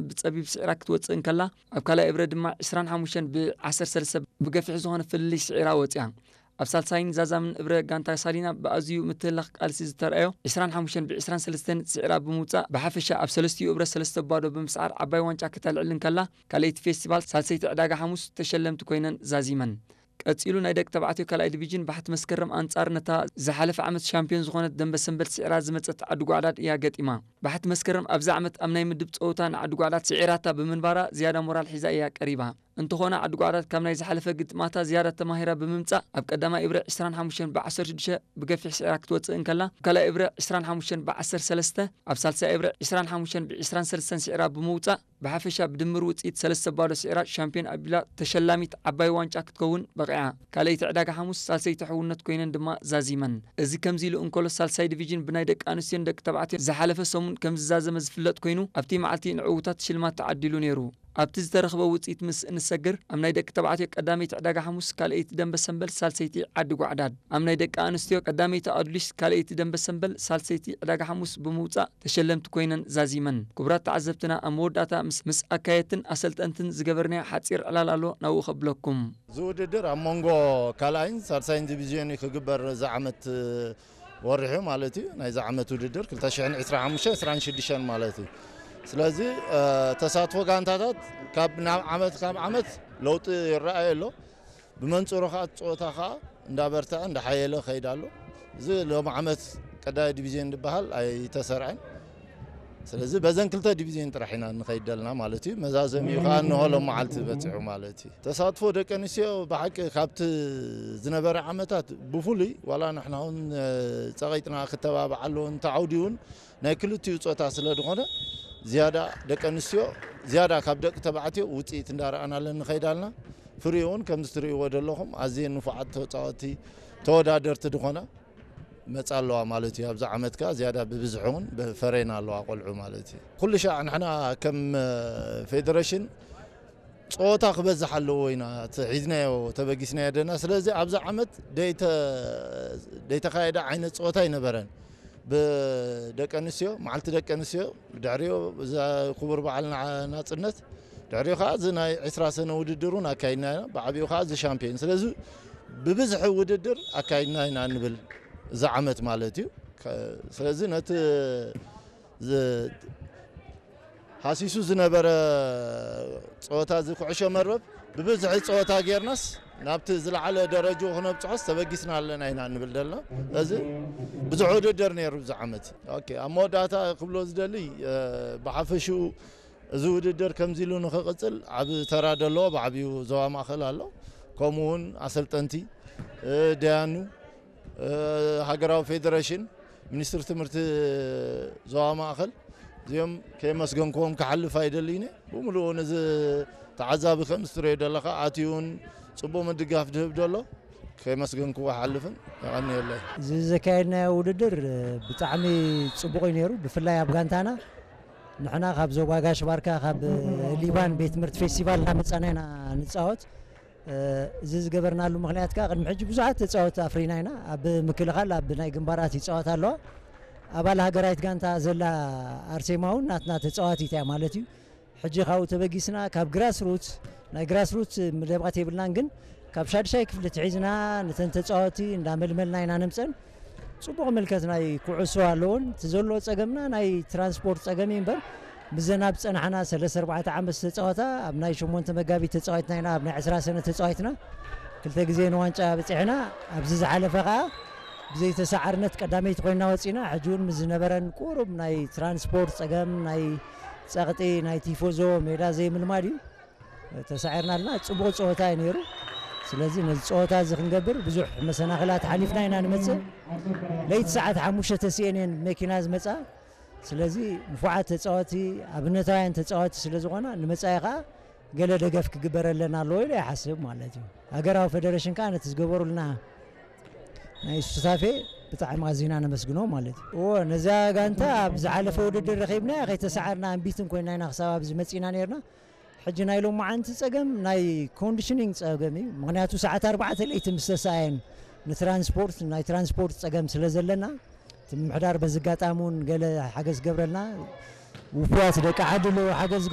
ብጸቢብ ስዒራ ክትወጽእ እንከላ፣ ኣብ ካልኣይ እብረ ድማ ዕስራን ሓሙሽተን ብዓሰርተ ሰለስተ ብገፊሕ ዝኾነ ፍልልይ ስዒራ ወጺኣ። ኣብ ሳልሳይን ዛዛምን እብረ ጋንታ ሳሊና ብኣዝዩ ምትህላኽ ቃልሲ ዝተርኣዮ ዕስራን ሓሙሽተን ብዕስራን ሰለስተን ስዒራ ብምውጻእ ብሓፈሻ ኣብ ሰለስቲኡ እብረ ሰለስተ ባዶ ብምስዓር ዓባይ ዋንጫ ክተልዕል እንከላ፣ ካልኣይቲ ፌስቲቫል ሳልሰይቲ ዕዳጋ ሓሙስ ተሸለምቲ ኮይነን ዛዚመን። ቀጺሉ ናይ ደቂ ተባዕትዮ ካልኣይ ዲቪዥን ባሕቲ መስከረም ኣንጻር ነታ ዝሓለፈ ዓመት ሻምፒዮን ዝኾነት ደንበ ሰንበል ስዒራ ዝመጸት ዓዲ ጓዕዳድ እያ ገጢማ። ባሕቲ መስከረም ኣብዚ ዓመት ኣብ ናይ ምድብ ጸወታ ንዓዲ ጓዕዳድ ስዒራታ ብምንባራ ዝያዳ ሞራል ሒዛ እያ ቀሪባ። እንተኾነ ዓዲ ጓዕዳድ ካብ ናይ ዝሓለፈ ግጥማታ ዝያዳ ተማሂራ ብምምጻእ ኣብ ቀዳማይ እብረ ዕስራን ሓሙሽተን ብዓሰርተ ሽዱሽተ ብገፊሕ ስዒራ ክትወጽእ እንከላ፣ ኣብ ካልኣይ እብረ ዕስራን ሓሙሽተን ብዓሰርተ ሰለስተ፣ ኣብ ሳልሳይ እብረ ዕስራን ሓሙሽተን ብዕስራን ሰለስተን ስዒራ ብምውጻእ ብሓፈሻ ብድምር ውጽኢት ሰለስተ ባዶ ስዒራ ሻምፒዮን ኣቢላ ተሸላሚት ዓባይ ዋንጫ ክትከውን በቒዓ። ካልኣይቲ ዕዳጋ ሓሙስ ሳልሰይቲ ሕውነት ኮይነን ድማ ዛዚመን። እዚ ከምዚ ኢሉ እንከሎ ሳልሳይ ዲቪዥን ብናይ ደቂ ኣንስትዮን ደቂ ተባዕትዮን ዝሓለፈ ሰሙን ከም ዝዛዘመ ዝፍለጥ ኮይኑ ኣብቲ መዓልቲ ንዕውታት ሽልማት ተዓዲሉ ነይሩ። ኣብቲ ዝተረኽበ ውጽኢት ምስ እንሰግር ኣብ ናይ ደቂ ተባዕትዮ ቀዳመይቲ ዕዳጋ ሓሙስ ካልኣይቲ ደንበ ሰንበል ሳልሰይቲ ዓዲ ጓዕዳድ፣ ኣብ ናይ ደቂ ኣንስትዮ ቀዳመይቲ ኣዱሊስ ካልኣይቲ ደንበ ሰንበል ሳልሰይቲ ዕዳጋ ሓሙስ ብምውጻእ ተሸለምቲ ኮይነን ዛዚመን። ክቡራት ተዓዘብትና ኣብ መወዳእታ ምስ፣ ምስ ኣካየድትን ኣሰልጠንትን ዝገበርናዮ ሓጺር ዕላል ኣሎ ናብኡ ከብለኩም። እዚ ውድድር ኣብ መንጎ ካልኣይን ሳልሳይን ዲቪዝዮን እዩ ክግበር እዚ ዓመት ወሪሑ ማለት እዩ። ናይዚ ዓመት ውድድር ክልተ ሽሕን ዕስራን ሓሙሽተን ዕስራን ሽዱሽተን ማለት እዩ። ስለዚ ተሳትፎ ጋንታታት ካብ ናብ ዓመት ካብ ዓመት ለውጢ ይረኣየ ኣሎ። ብመንጽሩ ከዓ ጸወታ ከዓ እንዳበርትዐ እንዳሓየለ ከይድ ኣሎ። እዚ ሎም ዓመት ቀዳይ ዲቪዝዮን ዝበሃል ኣይተሰርዐን። ስለዚ በዘን ክልተ ዲቪዝዮን ጥራሕ ኢና ንኸይድ ደልና ማለት እዩ። መዛዘሚኡ ከዓ እንሆ ሎም መዓልቲ በፂሑ ማለት እዩ። ተሳትፎ ደቂ ኣንስትዮ ብሓቂ ካብቲ ዝነበረ ዓመታት ብፍሉይ ዋላ ንሕና እውን ጸቒጥና ክተባብዓሉ እንተዓውዲ እውን ናይ ክልቲኡ ጾታ ስለ ዝኾነ ዝያዳ ደቂ ኣንስትዮ ዝያዳ ካብ ደቂ ተባዕትዮ ውፅኢት እንዳረኣናለን ንኸይድ ኣልና። ፍሪኡ እውን ከምዚ ትርእይዎ ዘለኹም ኣዝየን ንፉዓት ተፃወቲ ተወዳደርቲ ዝኾና መፃ ኣለዋ ማለት እዩ። ኣብዚ ዓመት ከኣ ዝያዳ ብብዝሒ እውን ፈሬና ኣለዋ ቆልዑ ማለት እዩ። ኩሉ ሻዕ ንሕና ከም ፌደሬሽን ፀወታ ክበዝሕ ኣለዎ ኢና እቲ ሒዝናዮ ተበጊስናዮ ደና። ስለዚ ኣብዚ ዓመት ደይተ ደይተኻየደ ዓይነት ፀወታ ኣይነበረን። ብደቂ ኣንስትዮ መዓልቲ ደቂ ኣንስትዮ ድሕሪኡ እዛ ክቡር በዓል ናፅነት ድሕሪኡ ከዓ እዚ ናይ ዕስራ ሰነ ውድድር እውን ኣካይድና ኢና። ብዓብኡ ከዓ እዚ ሻምፒዮን ስለዚ ብብዝሒ ውድድር ኣካይድና ኢና ንብል እዚ ዓመት ማለት እዩ። ስለዚ ነቲ ሃሲሱ ዝነበረ ፀወታ እዚ ኩዕሾ መርበብ ብብዝሒ ፀወታ ጌርናስ ናብቲ ዝለዓለ ደረጅኡ ክነብፅሖስ ተበጊስና ኣለና ኢና ንብል ዘለና። እዚ ብዙሕ ውድድር ነይሩ እዚ ዓመት። ኦኬ፣ ኣብ መወዳእታ ክብሎ ዝደሊ ብሓፈሽኡ እዚ ውድድር ከምዚ ኢሉ ንክቕፅል ዓብ ተራ ደለዎ ብዓብዩ ዞባ ማእኸል ኣሎ። ከምኡ እውን ኣሰልጠንቲ፣ ደያኑ፣ ሃገራዊ ፌደሬሽን፣ ሚኒስትሪ ትምህርቲ ዞባ ማእኸል እዚኦም ከየመስገንክዎም ክሓልፍ ኣይደልይነ። ብምሉኡ ነዚ ተዓዛቢ ከም ዝትሪዮ ዘለካ ኣትዩን ፅቡቅ ምድጋፍ ድህብ ደሎ ከየመስገንክዎ ሓልፍን የቐንየለይ። እዚ ዘካየድናዮ ውድድር ብጣዕሚ ፅቡቅ እዩ ነይሩ። ብፍላይ ኣብ ጋንታና ንሕና ካብ ዞባ ጋሽ ባርካ ካብ ሊባን ቤት ትምህርቲ ፌስቲቫል እናመፃና ኢና ንፃወት። እዚ ዝገበርናሉ ምክንያት ከዓ ቅድሚ ሕጂ ብዙሓት ተፃወቲ ኣፍሪና ኢና። ኣብ ምክልኻል ኣብ ናይ ግንባራት ይፃወት ኣለዋ። ኣባል ሃገራዊት ጋንታ ዘላ ኣርሴማ እውን ናትና ተፃዋቲት እያ ማለት እዩ። ሕጂ ካብኡ ተበጊስና ካብ ግራስሩት ናይ ግራስሩት ምደባት የብልናን ግን ካብ ሻድሻይ ክፍሊ ትሒዝና ነተን ተፃወቲ እንዳመልመልና ኢና ነምፀን። ፅቡቕ ምልከት ናይ ኩዕሶ ኣለዎን እቲ ዘሎ ፀገምና ናይ ትራንስፖርት ፀገም እዩ እምበር ምዘን ኣብ ዝፀናሓና ሰለስተ ኣርባዕተ ዓመት ዝተፃወታ ኣብ ናይ ሸሞንተ መጋቢት ተፃዋትና ኢና ኣብ ናይ ዕስራ ሰነ ተፃዋትና ክልተ ግዜ ንዋንጫ በፂሕና ኣብዚ ዝሓለፈ ከዓ ብዘይተሰዓርነት ቀዳመይቲ ኮይና ወፂና ሕጂ እውን ምስ ዝነበረን ቁሩብ ናይ ትራንስፖርት ፀገም ናይ ፀቕጢ ናይ ቲፎዞ ሜዳ ዘይምልማድ እዩ ተሳዒርና ኣለና። ፅቡቕ ፀወታ እዩ ነይሩ። ስለዚ ነዚ ፀወታ እዚ ክንገብር ብዙሕ መሰናኽላት ሓሊፍና ኢና ንመፅእ። ለይቲ ሰዓት ሓሙሽተ ተሲኤን እየን መኪና ዝመፃ። ስለዚ ንፉዓት ተፃወቲ ኣብነታውያን ተፃወቲ ስለ ዝኾና ንመፃኢ ከዓ ገለ ደገፍ ክግበረለን ኣለዎ ኢለ ይሓስብ ማለት እዩ። ሃገራዊ ፌደሬሽን ከዓ ነቲ ዝገበሩልና ናይ ሱታፌ ብጣዕሚ ኣዚና ነመስግኖ ማለት እዩ። እዎ ነዛ ጋንታ ኣብ ዝሓለፈ ውድድር ረኺብና ከይተሰዓርና ኣንቢትን ኮይና ኢና ክሳብ ኣብዚ መፂና ነርና። ሕጂ ናይ ሎማዓንቲ ፀገም ናይ ኮንዲሽኒንግ ፀገም እዩ። ምክንያቱ ሰዓት ኣርባዕተ ለይቲ ምስ ተሰኣየን ንትራንስፖርት ናይ ትራንስፖርት ፀገም ስለ ዘለና እቲ ምምሕዳር በዚ ኣጋጣሚ እውን ገለ ሓገዝ ገብረልና ውፉያት ደቂ ዓዲ ኣለዉ ሓገዝ